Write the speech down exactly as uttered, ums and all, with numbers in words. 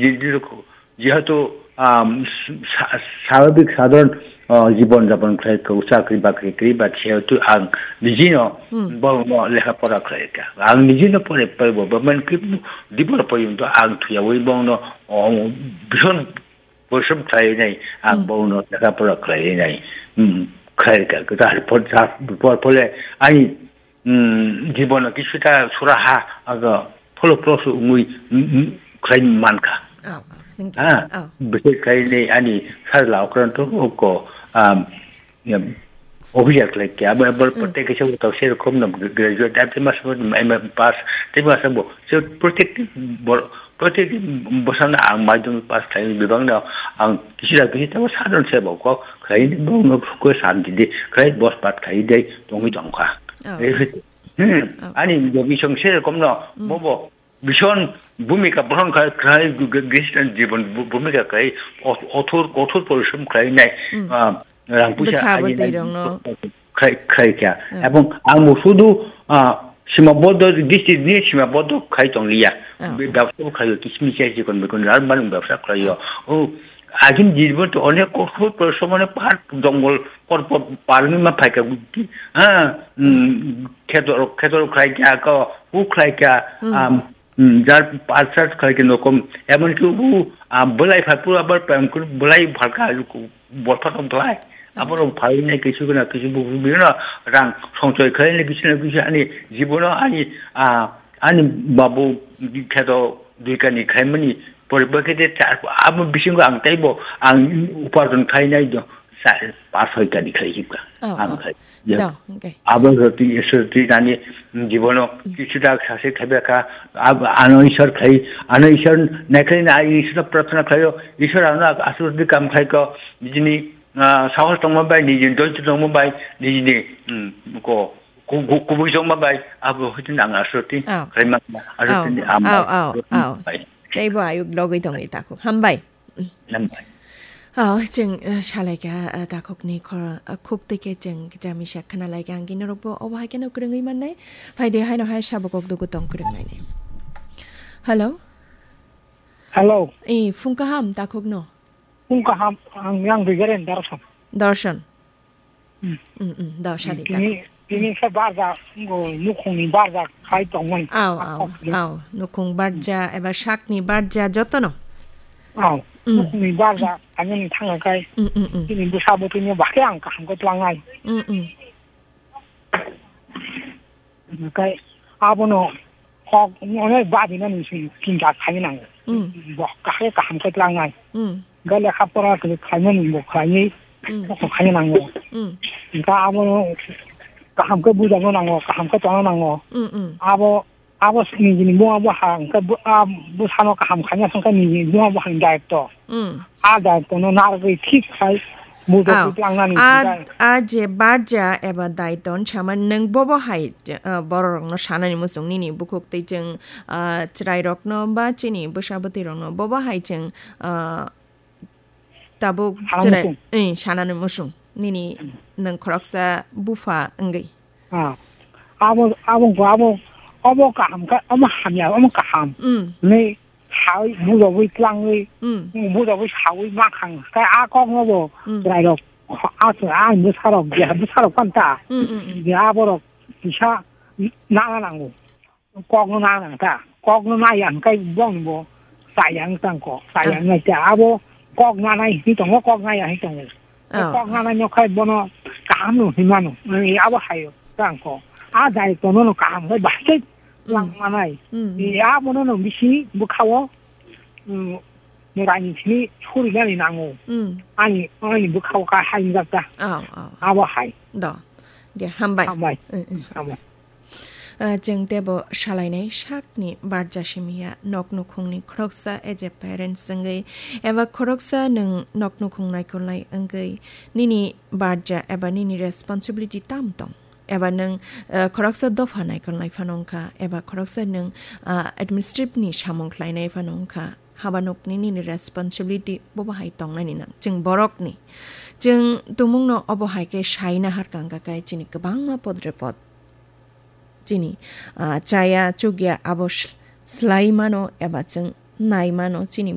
Jehetu, jehetu, um, sa-, sa-, swabhabik sadharon, uh, jibon japon khlai kha, chakri bakri kri ba, jehetu ang nijino Hmm. borokno lekha pora khlai kha. Ang nijino pore paibo, ba man khe dibor porjonto ang thuyawi borokno, oh, bison porishrom khlai nai, ang Hmm. borokno lekha pora khlai nai, hmm, khlai kha. Kwtal por, por, pore ani, hmm, jibono kisuta suraha, aga pholo pholo se wngwi, hmm, hmm, khlai mankha. Oh, oh, ningkhe. Ha, Oh. Bwswk khlai nai ani sajla okranto ko, um, ya, officer khlai kha, abo, abo Hmm. protek kisa utok se rokom no graduate, ate mas mo M A pass, te mas bo, se protek bor-, protek bosana ang madhyamik pass khlai bibang no ang kisa kisa tamo sadon se bo ko khlai bo no ko santi de, khlai bos pat khlai de, tongwi tongkha. Oh. Eh, hmm, Oh. Ani jogi song se rokom no, Hmm. Bo bo, Bison bhumika pohon khai, khai Christian jibon bhu-, bhumika khai, ot-, othor, kothor porishrom khai nai, Hmm. ah, rang puisa Bwsa agi nai bwtwi rokno. khai, khai kha. Hmm. Ebong ang bo sudu, ah, sima bodo, district ni sima bodo khai tong liya. Hmm. Be-, bebsa bo khai, kismis ya jikon bikon, rar manung bebsa khai yo. Oh, agin jibon to onek kothor porishrom mane pahar jongol por por parni ma phai kha, ha, mm, khetor, khetor khai kha ko, u khai kha, Hmm. am, Hmm, jar parsat khlai khe nokom, emon ki u, ah, belai phai pura abar pem kur belai phalka, bolpha tong khlai. Ah. Abar phai ne kisu na kisu bu, bu na rang songchoi khlai ne kisu na kisu ani jibono ani, ah, ani babu kheto duikani khlaimani pore bakhe de char, abo bisingo ang taibo ang uparjon khlai nai do, sa, pas hoi kani khlai hipka. Oh, ang oh. Khlai. Ya. Da, okay. Abo roti, roti nani jibono Mm. kichu dak sase khabe kha, ab-, ano Ishwar khai, ano Ishwar naikhlai na ai Ishwar prarthana khlaio, Ishwar ano asur di kam khai ko, nijini, ah, sahos tongma bai, nijini doitu tongma bai, nijini, mm, ko, ku-, ku-, kubui tongma bai, abo hitin ang asur ti Oh. Khlai ma, asur Oh, ti ni am oh, bai. Oh, oh. Bai. Tei bo ayuk logoi tongwi takhuk. Hambai. Hambai. Oh, chwng, eh, salaikha, eh, takhukni khor-, eh, khuk twi khe chwng kisa misa khna laikha, ang khe norokbo obo hai kheno kwrwngwi mannai. Phaidi haino hai sabo kok dugu tong kwrwngnaini. Hello? Hello. Eh, phung kaham takhukno? Phung kaham, ang yang Rigaren Darshan. Darshan. Hmm. Mm, mm, da, sadi ta. Tini, tini khe barja, ngo, nukhungni barja khai tongmani. Au, au, Sakni. Au, nukhung barja eba sakni barja jotono. Au, Mm. Nukhungni barja, ani ni thanga kai. Mm, mm, mm. Tini bwsa bo tini bahai ang kaham khe tlangnai. Mm, mm. Hwnkhe abono kok onek badinani se chinta khaina nango. Mm. Bo kaham kaham khe tlangnai. Mm. Hwnkhe lekha pora khe khainani bo khlaiwi Mm. kok khaina nango. Mm. Hwnkhe abono kaham khe bujano nango, kaham khe tongna nango. Mm, mm. Abo, abo nijini buma bo ha, hwnkhe bo, a, bwsano kaham khaina hwnkhe nijini buma bo ha daitto. Mm. A daitto no narwgwi thik khai bujo Au. Tlangnani A, hwnkhe. A je barja eba daitto wng sama nwng bobo hai, uh, bororokno sanani muchung nini bukhuk tei chwng, uh, chwrairokno ba chini bwsa bwtwirokno bobo hai chwng, uh, tabuk Sanani chwrai, muchung. Eh, sanani muchung nini nwng khoroksa bupha wngwi. Ah. Abo, abo, abo, obo kaham khe, omo hamya, omo kaham. Mm. Ni sawi, bujogwi, tlangwi, Mm. bujogwi, sawi, makhang. Khe a kokno bo Mm. chwrairok, a, a bwsarok, je bwsarok phanta. Mm, mm, mm. Je aborok kisa nana nango. Kokno nana nang ta. Kokno naya hwnkhe bongni bo chaya wng tang kok. Chaya Ah. wngnai ta. Abo kok nanai hinwi tongo, kok naya hinwi tongo. Oh. Kok nanai no khai bono kaham no hinwi mano. Ani abo hayo tang kok. A daitto no no kaham khai bahai khe Mm. lang manai. Mm. Ni abono no bisi bwkhao, mm, Moraini simi surinani nango. Mm. Ani, ani bwkhao ka hai wngjak ta. Oh, oh. Abo hai. Do. Ge, hambai. Hambai. Mm, mm. Hambai. Ah, chwng teibo salainai sakni barja simi ya, nok nukhungni khoroksa as a parents wngwi, eba khoroksa nwng nok nukhung naikolnai wngwi, nini barja eba nini responsibility tam tong? Eba nwng, ah, khoroksa dopha naikolnai phano wngkha, eba khoroksa nwng, ah, administrative ni samung khlainai phano wngkha, haba nokni nini responsibility bobo hai tongnani nang. Chwng borokni. Chwng tumungno obo hai khe sai nahar kang kha khe chini kwbangma podre pod. Chini, ah, chaya chukya abo s-, slai mano eba chwng nai mano chini